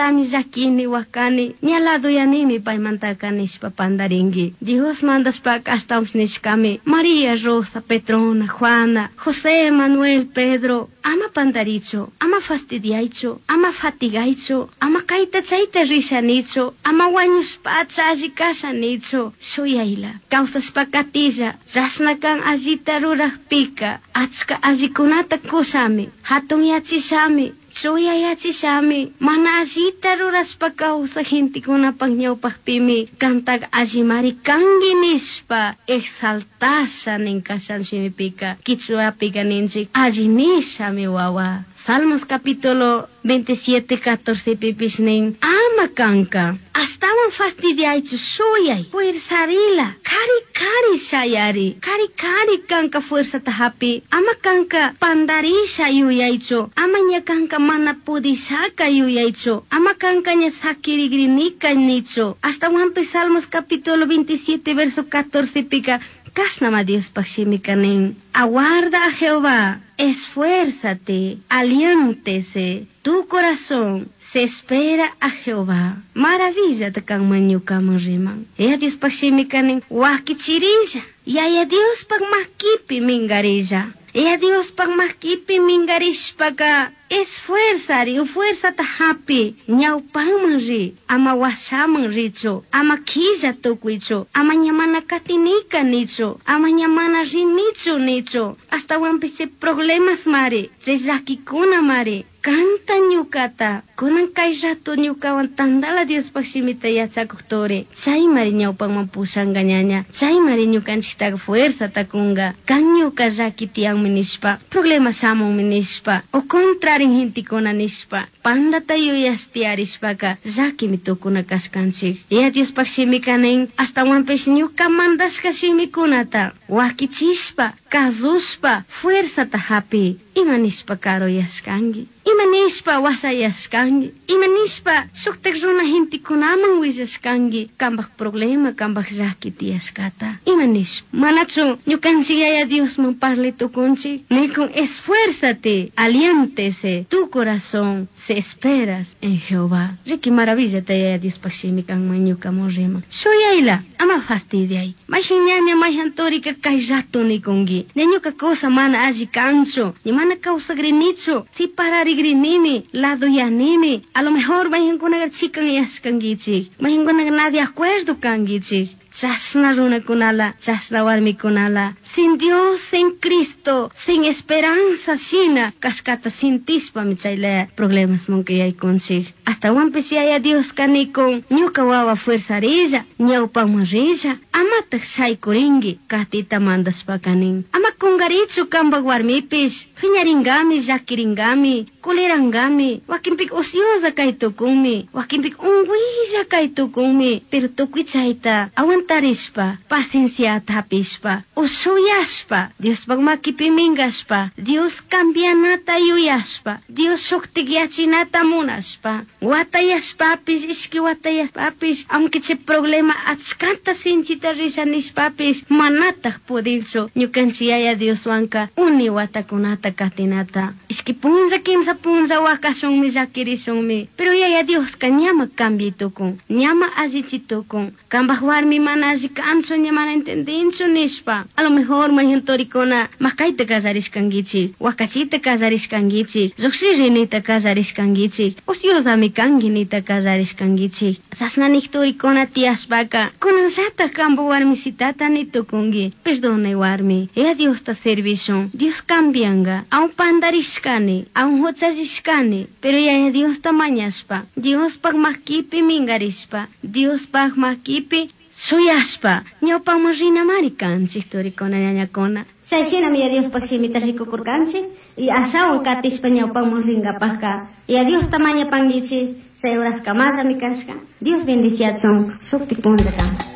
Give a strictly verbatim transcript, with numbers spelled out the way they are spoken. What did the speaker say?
paimantami llakini wakani ña laduyanimi paimantaka nishpa pandarinki. Dios mandashpaka ashtawanpish nishkami María, Rosa, Petrona, Juana, José, Manuel, Pedro, ama pandarichu, ama fastidiaychu, ama fatigaychu, ama kayta chayta rishanichu, ama wañushpacha alli kashanichu, shuyayla, kawsashpa katilla, chashna kan allita rurajpika, achka allikunata kushami, hatunyachishami, chuyayachishami, mana allita rurashpa kawsaj gentekunapak ñawpakpimi, kantak allimari kanki nishpa, exaltasha nin kashan shimipika, kichwapika ninchik, alli nishami wawa. Salmos capítulo veintisiete, catorce pipish nin, ama kanka, ashtawan fastidiaychu shuyay, fuerzarila, kari kari shayari, kari kari kanka fuerzata hapi, ama kanka pandarisha yuyaychu, ama ña kanka mana pudishaka yuyaychu, ama kanka ña sakirigrinika nichu. Ashtawanpish Salmos capítulo veintisiete, verso catorce pika, kashnama Diospaj shimika nin, aguarda a Jehová, esfuérzate, aliéntese, tu corazón se espera a Jehová. Maravilla te kanman ñukaman riman. Ya Diospaj shimika nin, wakichirilla, Yaya Diospaj makipi mingarilla. Ya Diospaj makipi mingarishpaka, esfuerzari, fuerzata hapi, ñawpanman ri, ama washaman richu, ama quilla tukuychu, ama ñamana katinika nichu, ama ñamana rinichu nichu, ashtawanpish chay problemas mari, chay llakikuna mari, kanta ñukata, kunan kay rato ñukawan tandala Diospaj shimita yachakuq turi, chaymari ñawpanman pushanka ñaña, chaymari ñukanchiktaqa fuerzata kunka, kan ñuka llaki tiyanmi nishpa, problema shamunmi nishpa, o contrarin gentekuna nishpa, pandata yuyash tiyarishpaka llakimi tukuna kashkanchik. Ya Diospaj shimika nin, ashtawanpish ñuka mandashka shimikunata wakichishpa, kazushpa, fuerzata hapi, ima nishpa karuyashkanki, ima nishpa washayashkanki, ima nishpa shuktak runa gentekunaman willashkanki kanpak problema, kanpak llaki tiyashkata, ima nishpa, manachu ñukanchik Yaya Diosman parli tukunchik, nikun esfuérzate, aliéntese, tu corazón se esperas en Jehová. Riki maravilla ta Yaya Diospaj shimi kanman ñukaman riman. Shuyayla, ama fastidiay. Mayhan ñaña, mayhan turika kay rato nikunki. Ña ñuka cosa mana alli kanchu, ña mana kawsagrinichu, separarigrinimi, laduyanimi. A lo mejor mayhankunaqa chikanyashkankichik, mayhankunaqa na de acuerdo kankichik. Chashna runakunala, chashna warmikunala, sin Dios, sin Cristo, sin esperanza shina, kashkata sintishpami chaylaya problemas munka yaykunchik. Ashtawanpish Yaya Dioska nikun, ñuka wawa fuerzarilla, ñawpaman rilla, amatak shaykurinki, katita mandashpaka nin. Ama kunkarichu kanpak warmipish, phiñaringami, llakiringami, kulirangami, wakinpika ociosa kay tukunmi, wakinpika unguilla kay tukunmi, pero tukuy chayta aguantarishpa, pacienciata hapishpa, ushuyashpa, Diospaj makipi minkashpa, Dios cambianata yuyashpa, Dios shuktikyachinata munashpa, watayashpapish, ishki watayashpapish, aunque chay problema achkata sinchita risha nishpapish, manataj pudinchu ñukanchik Yaya Dioswanka uni watakunata katinata. Ishki punlla, kimsa punlla wakashunmi, llakirishunmi, pero Yaya Dioska ñama cambiay tukun, ñama allichi tukun, kanpak warmi mana alli kanchu, ña mana entendinchu nishpa. A lo mejor mayhan turikuna makayta kallarishkankichik, wakachita kallarishkankichik, llukshirinita kallarishkankichik, ociosami kanki nita kallarishkankichik. Chashna nik turikuna tiyashpaka, kunanllatak kanpak warmisitata ni tukunki, perdonay warmi, ya Diosta servishun, Dios cambianga, aun pandarishkani, aun huchallishkani, pero Yaya Diosta mañashpa, Diospaj makipi mingarishpa, Diospaj makipi shuyashpa, ñawpaman rinamari kanchik turikuna ñañakuna. Chay shinami Yaya Diospaj shimita rikukurkanchik, y ashawan katishpa ñawpaman rinkapajka, Yaya Diosta mañapankichik, chay horas kamallami kashka. Dios bendiciachun, shuktik punllakama.